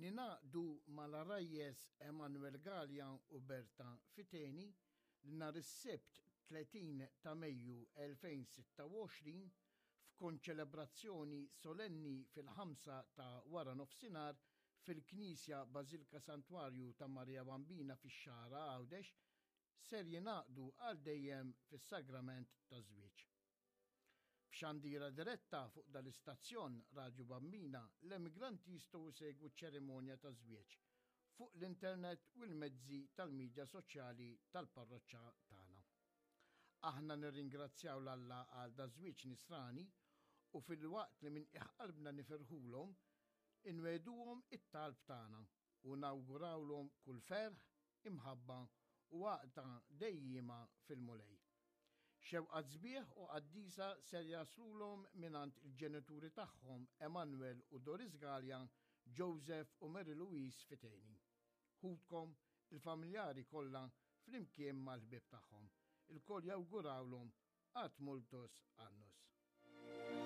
Ningħaqdu mal-għarajjes Emanuel Galea u Berta Fiteni li nhar is-Sibt 30 ta' Mejju 2026 f'konċelebrazzjoni solenni fil-ħamsa ta' wara nofsinhar fil-Knisja Bażilka Santwarju ta' Marija Bambina fix-Xagħra Għawdex ser jingħaqdu għal dejjem fis-sagrament taż-żwieġ. F'xandira diretta fuq dal-istazzjon Radju Bambina, l-emigranti jistgħu jsegwu ċ-ċerimonja taż-żwieġ fuq l-internet u l-mezzi tal-midja soċjali tal-parroċċa tagħna. Aħna nirringrazzjaw 'l Alla għal daż-żwieġ nisrani u filwaqt li minn qiegħ qalbna nifirħulhom, inwegħduhom it-talb tagħna u nawgurawlhom kull ferħ, imħabba u għaqda dejjiema fil-Mulej. Xewqat sbieħ u qaddisa ser jaslulhom mingħand il-ġenituri tagħhom Emanuel u Doris Galea, Joseph u Mary Louise Fiteni. Ħutkom, il-familjari kollha flimkien mal-ħbieb tagħhom. Ilkoll jawgurawlhom ad multos annos.